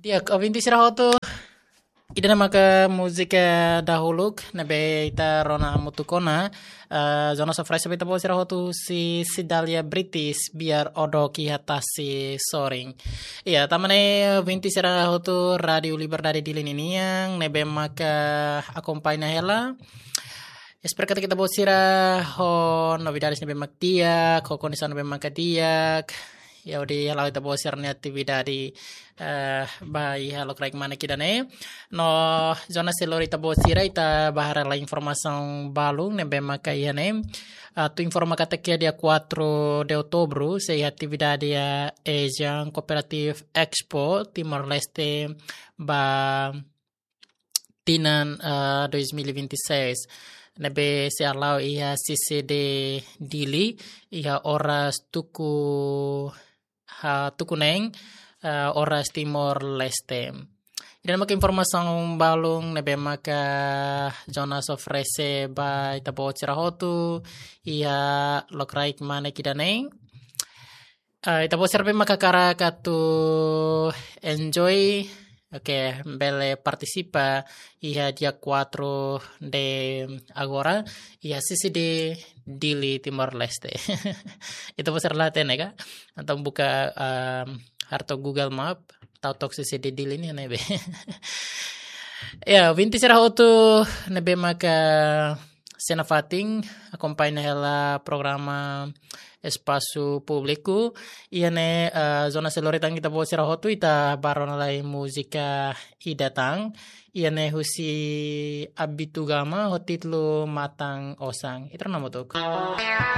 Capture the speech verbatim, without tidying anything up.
Di'ak, ouvinte sira hotu, ida-ne'e maka múzika dahuluk ne'ebé ita rona hamutuk ona, eh, Jonas oferese ba ita-boot sira hotu husi Cidália British, Biar O Dok Iha Tasi Sorin. Iya, tanba ne'e ouvinte sira hotu Rádiu Liberdade Dili ninian ne'ebé maka akompaña hela. Espera katak ita-boot sira ho novidades ne'ebé mak di'ak, ho kondisaun ne'ebé maka di'ak. Ya, hodi hala'o ita-boot sira-nia atividade, eh, ba iha lokraik mane ida-ne'e. No Jonas sei lori ita-boot sira, ita bá haree lai informasaun balun ne'ebé maka iha ne'e. Atu informa katak iha dia quatro de outubro sei iha atividade iha ASEAN Cooperative Expo Timor-Leste ba tinan, eh, dois mil e vinte e seis. Ne'ebé sei hala'o iha CCD Dili, iha oras tuku, ha, tuku neen, eh, oras Timor-Leste. Ida-ne'e maka informasaun balun ne'ebé maka Jonas oferese ba ita-boot sira hotu iha lokraik mane ida-ne'e. Eh, ita-boot sira ne'ebé maka hakarak atu enjoy, oke, bele partisipa iha dia quatro de agora, iha CCD Dili, Timor-Leste. Ita-boot sira la hatene ka? Entaun buka, ehm, haree took Google Map, tau took CCD Dili nian ne'ebé. Ya, ouvinte sira hotu ne'ebé maka sei nafatin akompaña hela programa Espasu Públiku. Iha ne'e, eh, Jonas sei lori tan ita-boot sira hotu, ita bá rona lai múzika ida tan. Iha ne'e husi Abito Gama ho títulu Matan Osan. Ita rona hamutuk.